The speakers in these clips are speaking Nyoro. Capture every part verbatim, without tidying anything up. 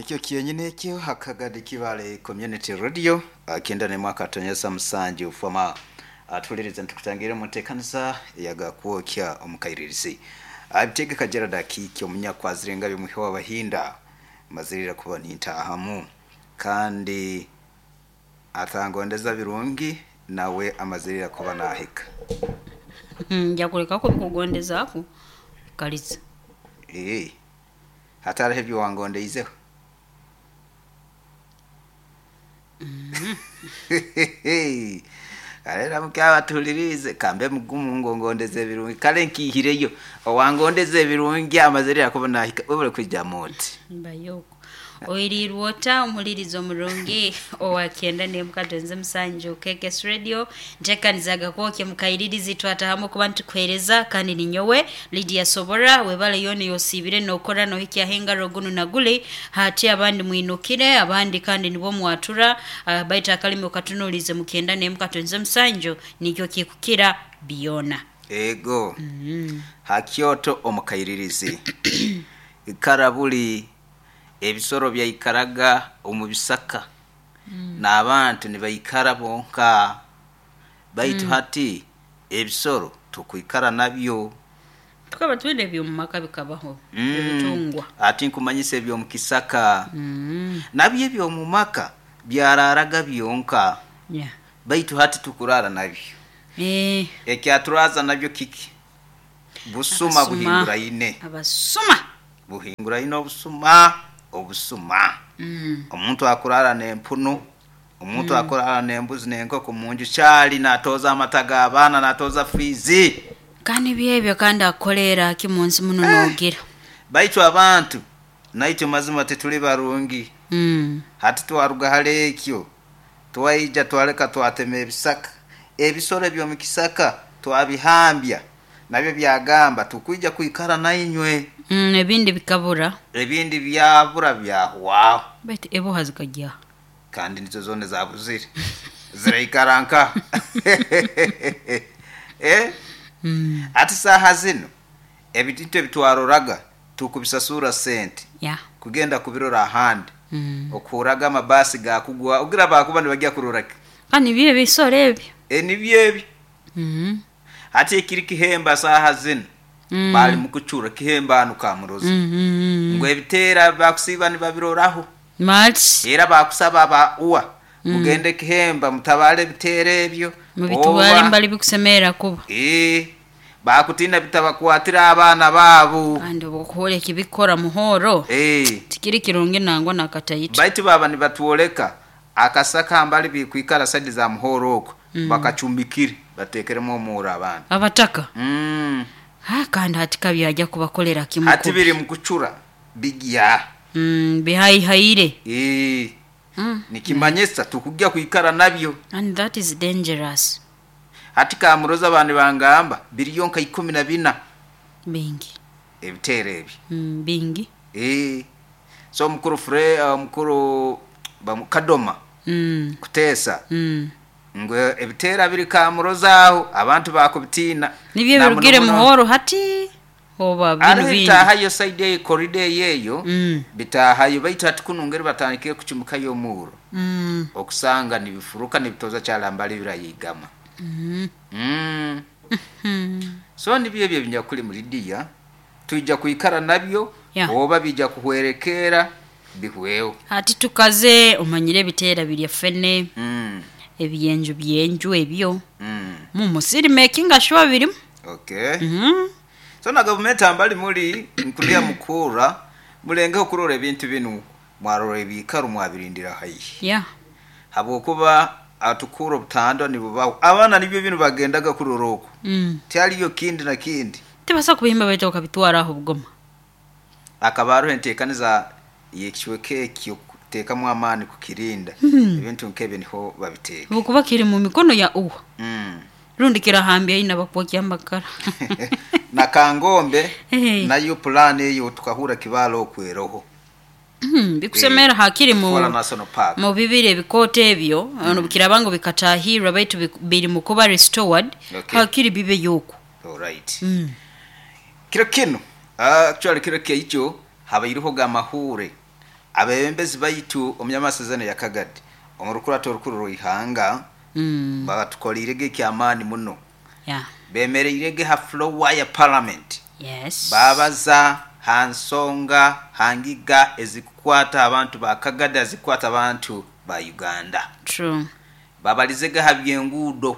Nikyo kyenyine ekyo hakagadi Kibale Community Radio akenda ne mwaka tonyesa musanju fama atuliriza ntukutangire mu ntekanisa yagakwokya omukairirizi abitegeka Gerard Akiki omunyakwazirenga byomuhe w'abahinda mazirira kuba nintahamu kandi atangondeza birungi nawe amazirira kuba nahika. Nja kuleka kubikugondezaaku kaliza. Eh, hatariho ebyo wangondeizeho. Kale ramuka batulirize kambe mugumu ngongondeze ebirungi kale nkihireyo owangondeze ebirungi amazirira kuba nahika webale kwijja moti mbayoko oirirwe ota omulirizo omurungi owakenda nemukatonze musanju K K S Radio ntekanizaga kwokye mukairirizi twatahamu kuba ntukuhereza kandi ninyowe Lydia Sobora webale yone yosibire nokora nohikya hengaro gunu naguli hati abandi mwinukire abandi kandi nibo mwatura uh, baita akalimi okatunulize mukenda nemukatonze musanju nikyo kikukira biona ego mm -hmm. Hakyoto omukairirizi ikarabuli ebisoro byaikaraga omu bisaka mm. n'abantu nibaikara bonka baitu mm. hati ebisoro tukwikara nabyo tukaba twende by'omu maka bikabaho mm. ebitungwa ati nkumanyisa eby'omu kisaka mm. nabyo eby'omu maka byararaga byonka yeah. Baitu hati tukurara nabyo eh. Ekyaturaza nabyo kiki busuma buhinguraine abasuma buhinguraine obusuma obusuma mm. Omuntu akurara n'empunu omuntu mm. akurara n'embuzi n'enkoko munju kyali natoza amata g'abaana natoza fizi kandi byebyo kandi akolera ki munsi muno eh. Nogira baitu abantu naitwe mazima tetuli barungi mm. Hati twaruga hali ekyo twaija twaleka twatema ebisaka ebisoro eby'omu kisaka twabihambya nabyo byagamba tukwija kwikara nainywe mm, ebindi bikabura ebindi byabura byahwaho baitu ebo hazikajya kandi nizo zone zabuzire ziraikara nka eh? mm. Ati saha zino ebintu ebitwaroraga tukubisasura sente yeah. Kugenda kubirora ahandi mm. Okuraga amabasi gakugwa ogira bakuba nibajya kuroraki kandi bye bisoro ebyo e nibyo ebyo mm. Ati ekiri kihemba saha zino mm. Bali mukuchura kihemba anu kamurozi mm -hmm. Ngo ebitera bakusiba nibabiroraho March era bakusaba ba uwa mm. Mugende kihemba mutabale bitera ebyo mubitwale mbali bikusemera kuba eh bakutina bitabakwatira abana babo kandi obukuhole kibikora muhoro eh tikiri kirungi nangwa nakatayita baitu baba nibatuoleka akasaka mbali bikwikara sadi za muhoro oko mm. Bakachumbikire batekeremo omura abana abataka mm. Ha kandi hatika byajya kubakolera kimu hati biri mukuchura bigya mm bihaihaire eh mm. Nikimanyisa tukujya kuikara nabyo and that is dangerous. Hati kamuroza abantu bangamba biliyonka ikumi na bina bingi ebitere ebi mm, bingi eh so mukuru fre uh, mukuru bamukadoma mm. Kutesa mm. Ngo ebitera biri kamuroza aho abantu bakubitina nibyo birugire muhoro hati oba binu bindi bitahayo side ye corridor yeyo mm. Bitahayo baitu hati kunungere batandikire kuchumuka yo muro mm. Okusanga nibifuruka nibitoza kyalambali birayigama mm. mm. Mm. So nibyo ebyo binyakuli muri dia tuija kuikara nabyo yeah. Oba bija kuhwerekera bihweho hati tukaze omanyire bitera birya fene mm. Ebiyenju byenju ebyo mm. Mu musiri making sure birimu okay mm -hmm. So na government ambali muri nkulia mukura mulenge okurora ebintu binu mwarora ebikaru mwabirindira hayi yeah. Habwokuba atukura obutando nibubaho abana nibyo binu bagendaga kuroroko mm. Tyaliyo kindi na kindi tibasa kubihimba baitu okabitwara aho bugoma akabaruhe ntekaniza yekiweke ekyo tekamu amani kukirinda mm. Ebintu nkebe niho babiteka bukuba kiri mu mikono ya uwa mm. Rundi kirahambya ina bakwokya amakara na kangombe hey. Nayo plan eyo tukahura kibalo okweroho mm, bikusemera hakiri mu Fora National Park mu bibire bikote ebyo mm. Ono bikirabango bikatahirwa baitu biri mu kuba restored okay. Hakiri bibe yoko all right mm. Kiro kino uh, actually kiro kyo habairiho gamahure Abebembezi baitu omunyamasazana ya Kagadi omurukurato orukuru rw'ihanga Mm. batukolirege ekyamaani muno. Yeah. Bemereirege ha floor ya parliament. Yes. Babaza ha nsonga hangiga ezikukwata abantu ba Kagadi, ezikukwata abantu ba Uganda. True. Babalizege ha byenguudo.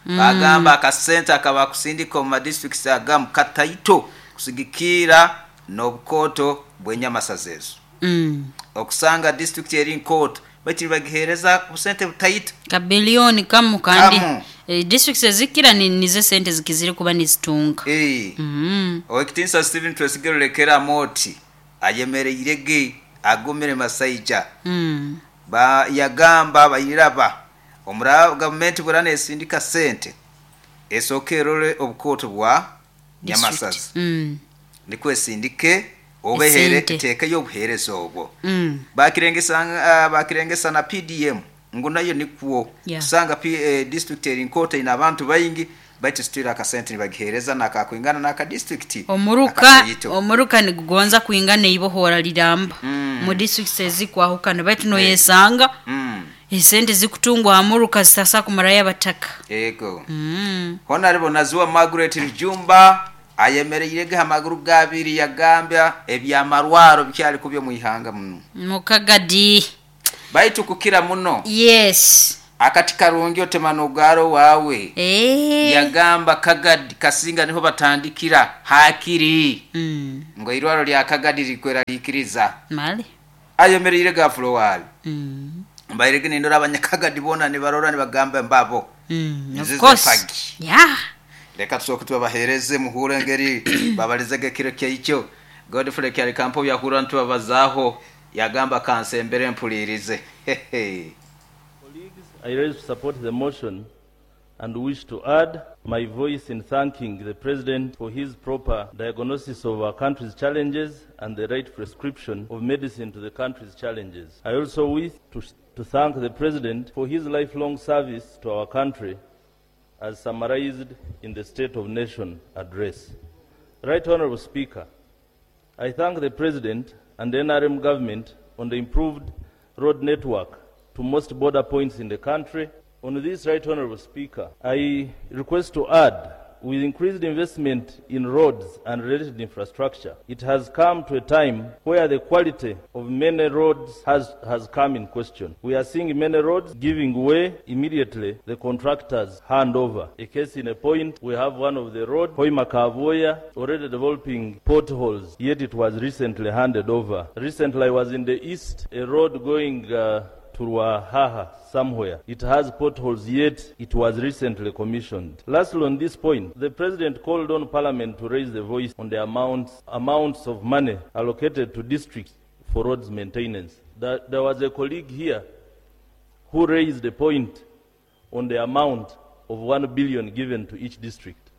Mm. Bagamba akasente akabakusindika omu madistricts agamu kataito kusigikira n'obukooto bw'enyamasaza ezo. Mm. Okusanga district eri nkooto baitu nibagiheereza obusente butaito. Kabilioni kamu kandi Kamu. eh, districts ezikira ni nizo sente zikiziri kuba nizitunga. Eh. Mm. Owekitinsa Stephen Twesigye Rulekera Amooti ayemereirege agumire masaija. Mm. Ba yagamba bayiraba omura gavumenti burana esindika sente esooka erole obukooto bwa District. nyamasaza Mm. nikwo esindike obehere Esente. eteekeyo obuheereza obwo. Mm. Bakirengesa uh, bakirengesa na P D M ngu nayo nikwo Yeah. kusanga P, eh, district eri nkooto ina abantu baingi baitu situira akasente nibagiheereza nakakwingana n'aka district Omuruka akataito. omuruka nigugonza kwingana ibohora liramba. Mm. Mu districts ezikwahukana baitu noyesanga Mm. esente zikutungwa amuruka zitasa kumaraya bataka. Ego. Mm. Honorable Naziwa Margaret Rujumba ayemereirege amaguru gabiri yagambya ebyamarwaro bikyali kubyo mu ihanga muno. Mukagadi. Baitu kukira muno. Yes. Akati karungi otemano garo wawe. Eh. Yagamba Kagadi kasinga niho batandikira hakiri. Mm. Ngo irwaro lya Kagadi likwera likiriza. Mali. Ayemereire gafulo wali. Mm. Mbairege nindora abanyakagadi bona ni barora ni bagamba mbabo. Mm. Of Zize course. pagi. Yeah. Reka tusooke tubabaheereze muhure engeri babalizege kiro kyaikyo. Godfrey Kyali Kampo yahura ntubabazaaho yagamba kansembere mpulirize. Colleagues, I rise to support the motion and wish to add my voice in thanking the President for his proper diagnosis of our country's challenges and the right prescription of medicine to the country's challenges. I also wish to, to thank the President for his lifelong service to our country as summarized in the State of Nation address. Right Honorable Speaker, I thank the President and the N R M government on the improved road network to most border points in the country. On this, Right Honorable Speaker, I request to add, with increased investment in roads and related infrastructure, it has come to a time where the quality of many roads has, has come in question. We are seeing many roads giving way immediately the contractors hand over. A case in a point, we have one of the road, Hoima Kavoya, already developing potholes, yet it was recently handed over. Recently I was in the east, a road going, uh, to Ruahaha somewhere. It has potholes, yet it was recently commissioned. Lastly, on this point, the President called on Parliament to raise the voice on the amounts, amounts of money allocated to districts for roads maintenance. There, there was a colleague here who raised the point on the amount of one billion given to each district.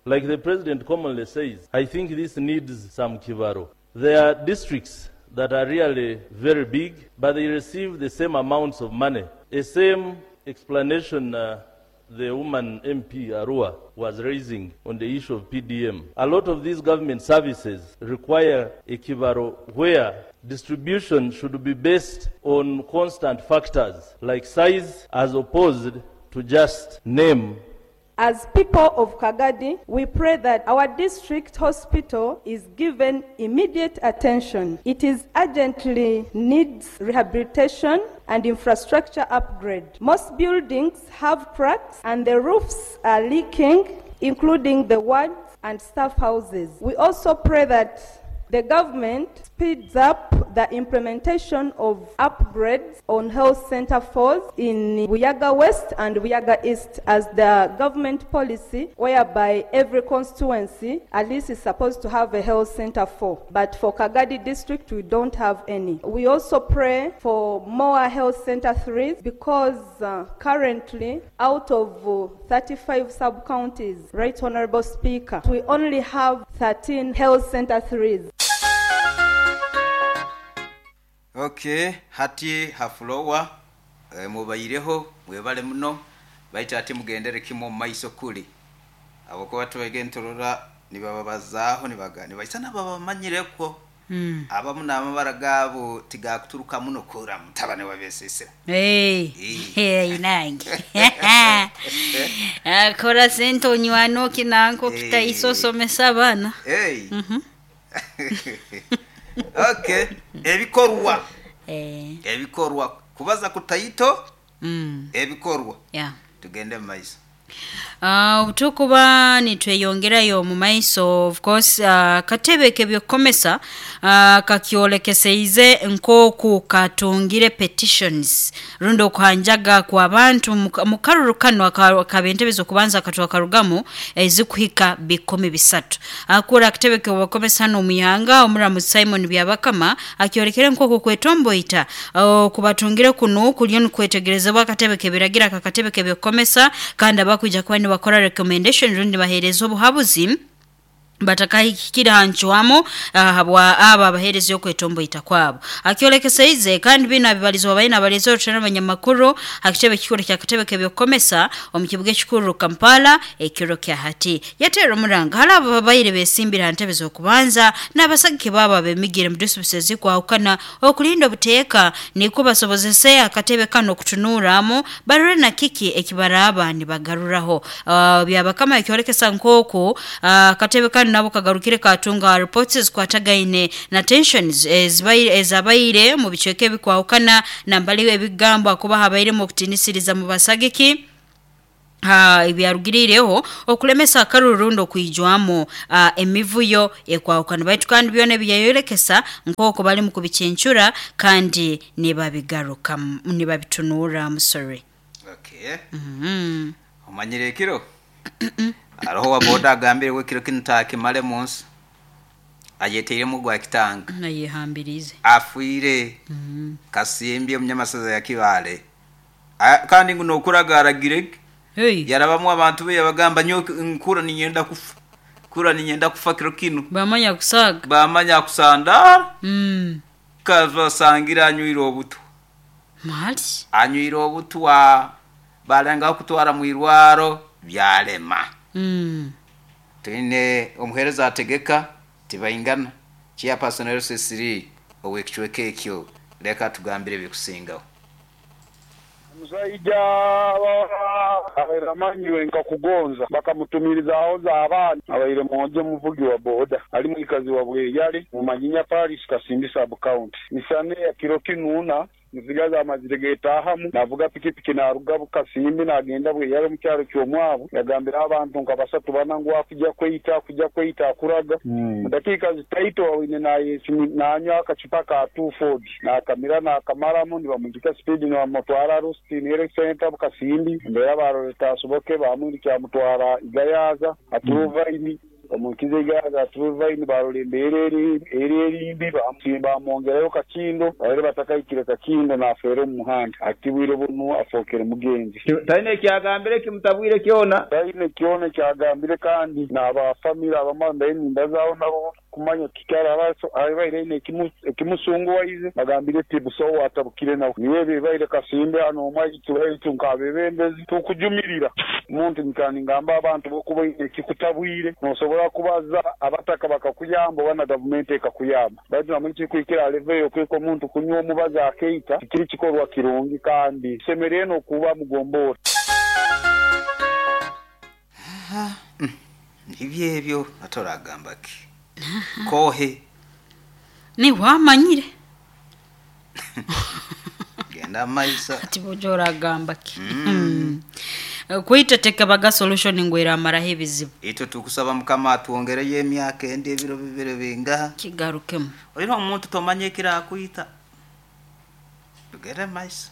Like the President commonly says, I think this needs some kivaro. There are districts that are really very big, but they receive the same amounts of money. The same explanation, uh, the woman M P Arua was raising on the issue of P D M. A lot of these government services require a kivaro where distribution should be based on constant factors like size as opposed to just name. As people of Kagadi, we pray that our district hospital is given immediate attention. It is urgently needs rehabilitation and infrastructure upgrade. Most buildings have cracks and the roofs are leaking, including the wards and staff houses. We also pray that the government speeds up the implementation of upgrades on health center fours in Buyaga West and Buyaga East as the government policy, whereby every constituency at least is supposed to have a health center four. But for Kagadi district, we don't have any. We also pray for more health center threes because, uh, currently, out of, uh, thirty-five sub-counties, Right Honorable Speaker, we only have thirteen health center threes. Okay, hati hafulowa e, mubaireho mwebale muno baita ati mugendere kimo maiso kuli abo ko batwege ntorora nibababazaaho nibaga nibaisa nababamanyireko. Mm. Abamu n'amabara gaabo tigakuturuka muno kura mutabani wa besisira. Hey. Eh. Hey, nange. Akora sente onywano kinanko Eh. kitaisosomesa abaana. Hey. Mhm. Okay, ebikorwa Eh. ebikorwa kubaza kutaito Mm. ebikorwa Yeah. tugende mu maiso. Uh, obutukuba nitweyongerayo mu maiso of course uh, katebe kebyokukomesa uh, kakyolekeseize nk'oku katungire petitions rundi okuhanjaga kw'abantu mu karuru kano aka- akabentebe z'okubanza katwakarugamu ezikuhika bikumi bisatu. Akura akatebe k'obukomesa hano omu ihanga omuramuzi Simon Byabakama akyolekere nk'oku kwetomboita uh, kubatungire kunu kuriyo nikwetegerezebwa akatebe kebiragira aka katebe kebyokukomesa kandi abakwija kuba nibakora recommendation rundi bahereza obuhabuzi batakahikira hancwamo habwa aba abahereza okwetomboita kwabo. Akyolekeseize kandi bino abibalizwa baina abalezi orutana abanyamakuru hakitebe kikuru kya katebe kebyokukomesa omu kibuga ekikuru Kampala ekiro kya hati yatera omuranga hari abo babaire besimbira ha ntebe z'okubanza n'abasagike baabo abemigire mu disitulikiti ezikwahukana okulinda obuteeka nikwo basobozese akatebe kano okutunuuramu barore na kiki ekibaraaba nibagaruraho. Uh, Byabakama ekyolekesa nk'oku akatebe uh, kano nabo kagarukire katunga reports zikwatagaine na tensions ezibaire ezabaire mu bicweka ebikwahukana nambali ebigambo akuba habairemu okutinisiriza mu basagiki ha ebyarugirireho okulemesa akaruru okwijwamu uh, emivuyo ekwahukana baitu kandi byona ebyayorekesa nk'oko bali mu kubicencura kandi nibabigaruka nibabitunura. I'm sorry. Okay. Mm-hmm. Omanyire ekiro aroho wa boda agambire we kiro kino takimale munsi ayeteiremu gwa kitanga nayehambirize afuire mm. Kasimbye omunyamasaza ya Kibale. A- kandi nguno okuragaragire Hey. yarabamu abantu be yabagamba nyo nkura ninyenda kufa kura ninyenda kufa kiro kino bamanya kusaga bamanya kusandara mm. kabasangira anywire obutwa mali anywire obutwa balengaho kutwara mu irwaro byalema. mm. Twine omuhereza ategeka tibaingana chairperson L C three owekicweka ekyo leka tugambire bikusingaho. Omusajja abaire amanyiwe nka kugonza bakamutumiriza aho abaana abaire mwojo muvugi wa boda ali mwikazi wa Bweyale mu Manyinya Parish Kasindi sub county misane ya kiro kinuna nzigaza amazire getahamu navuga pikipiki naruga Bukasimbi nagenda Bweyale mu kyalo ky'omwabo yagambira abantu nka basatu bana ngu akujja kweyita akujja kweyita akuraga Mm. dakika zitaito wawine nanywa akacupa ka two forty nakamira nakamaramu nibamuzika speed nibamutwara Rustin Health Center Bukasimbi mbera baroreta asoboke bamwirikya mutwara Igayaza aturuvaini omukize Igayaza aturuvaini barora embeera eri eri erimbi bamwongerayo Kakindo baire batakahikire Kakindo nafeera omu muhanda atibwire bunu afookere mugenzi. Talina ekyagambire kimutabwire kyona talina kyona kyagambire kandi n'abafamire abamwe eninda zaawo nabo kumanya kikyara abaire aine ekimusunguwaize bagambire ti busowo atabukire nawe niwe bibaire Kasimbe hano omwaitu nk'abebembezi tukujumirira omuntu nkani ngamba abantu bokuba oine ekikutabwire nosobola kubaza abataka bakakuyamba oba na gavumenti ekakuyamba baitu namwe kikuhikira aleveyo okweka omuntu kunywa omubazi akeita tikiri kikorwa kirungi kandi kisemerere n'okuba mugomboora. Ibyo ebyo atoragamba ki kohe ni wamanyire genda maisa ati bojo oragamba ki mm. Kwita tekabaga solution ngwera amaraho ebizibu itwe tukusaba mukama atuwongereyo emyaka endi ebiro bibiri bingaha kigarukemu olina omuntu tomanye ekirakwita tugende maiso.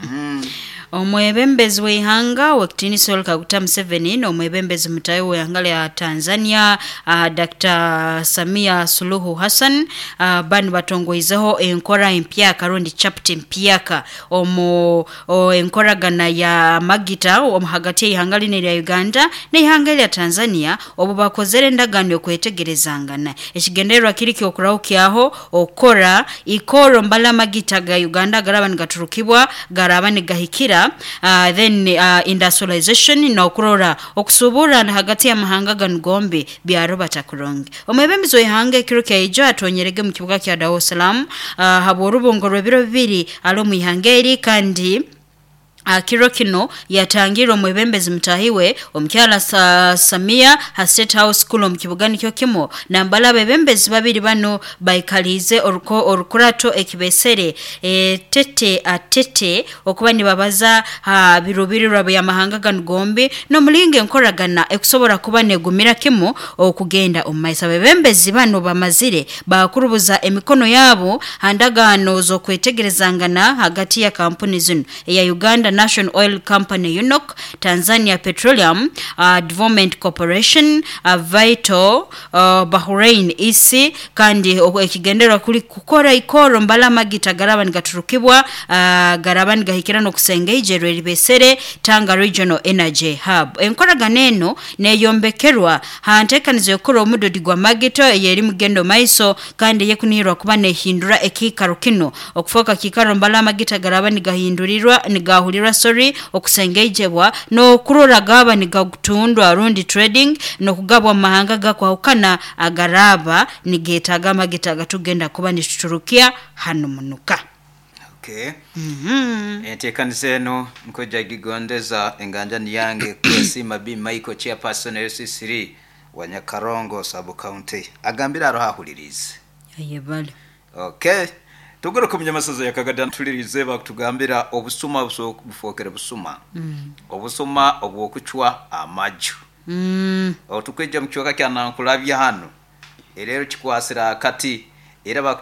Mm. Omwebembezi w'eihanga wekitiinisa Yoweri Kaguta Museveni n'omwebembezi mutayi w'eihanga lya Tanzania uh, Doctor Samia Suluhu Hassan uh, bani batongoizeho enkora empyaka rundi chapter empyaka omu o, enkoragana ya magita omu hagati y'eihanga lino erya Uganda n'eihanga lya Tanzania obu bakozere endagaano y'okwetegerezangana. Ekigendererwa kiri ky'okurahukyaho okukora ikoro mbala amagita ga Uganda garaba nigaturukira nigaturukibwa garaba nigahikira uh, then uh, industrialization n'okurora okusuburana hagati y'amahanga ganu gombi byarubata kurungi. Omwebembezi w'ihanga ekiro kyaijo atonyerege mu kibuga kya Dar es Salaam uh, habw'orubungo rw'ebiro bibiri ali omu ihanga eri, kandi kiro kino yatangirwe omwebembezi mutahiwe omukyala sa, Samia ha State House School omu kibuga nikyo kimu. Nambala abebembezi babiri bano baikalize oruko orukurato ekibesere e, tete atete okuba nibabaza ha birubirirwa by'amahanga ganu gombi n'omulingo enkoragana ekusobora kuba negumira kimu okugenda omu maiso. Abebembezi bano bamazire bakurubuza emikono yabo ha ndagaano z'okwetegerezangana hagati ya kampuni zino eya Uganda National Oil Company U N O C, Tanzania Petroleum uh, Development Corporation, uh, Vital, uh, Bahrain E C, kandi ekigendererwa kuli kukora ikoro mbala amagita garaba nigaturukibwa uh, garaba nigahikira n'okusenga ijero eribesere Tanga Regional Energy Hub. Enkoragana eno neyombekerwa ha nteekanizo y'okukora omudodi gwa magito eyeri mugendo maiso, kandi yekunihirwa kuba nehindura ekiikaro kino okufoka kiikaro mbala amagita garaba nigahindurirwa nigahulirwa sorry okusengeijebwa n'okurora gaba nigagutundwa rundi trading n'okugabwa mu mahanga gakwahukana agaraba nigetaaga amagita agatugenda kuba nituturukia hano munuka. Okay. Enteekaniza eno nkojja gigondeza enganjani yange kwesiima B Michael, chairperson L C three wa Nyakarongo sub county, agambire aroho ahulirize. Ayebale. Okay, tugaruka munyamasaza yakagada tulirize bakutugambira obusuma bufookere busuma, obusuma obwokucwa amaju. mm. Otukwija mu kibuga kya Nankulabya hano erero kikwasira akati era.